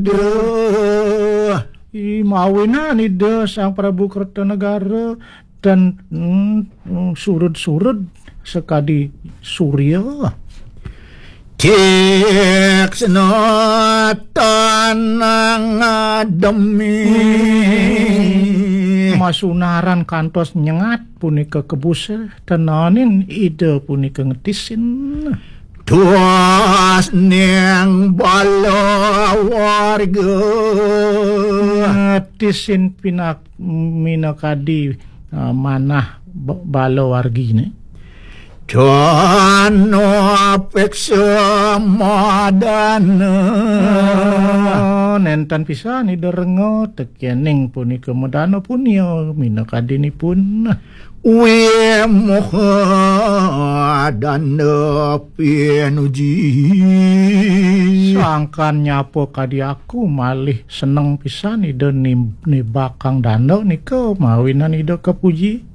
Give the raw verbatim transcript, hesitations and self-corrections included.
Duh. I mawinan Ida Sang Prabu Kertanegara dan, mm, mm, surud-surud sekadi surya. Tiksna tanang demi. Masunaran kantos nyengat punika kebus tenanin Ida punika ngetisin. Tuas ning bala warga. Ngetisin pinak minakadi, uh, manah ba-, bala wargine. Dana peksa madana. Oh, nenten pisan Ida renga tekening punika madana punia minakadinipun. Wi moha dana pinuji. Sangkan nyapa kadi aku malih seneng pisan Ida nim-, nibakang dana nika mawinan Ida kapuji.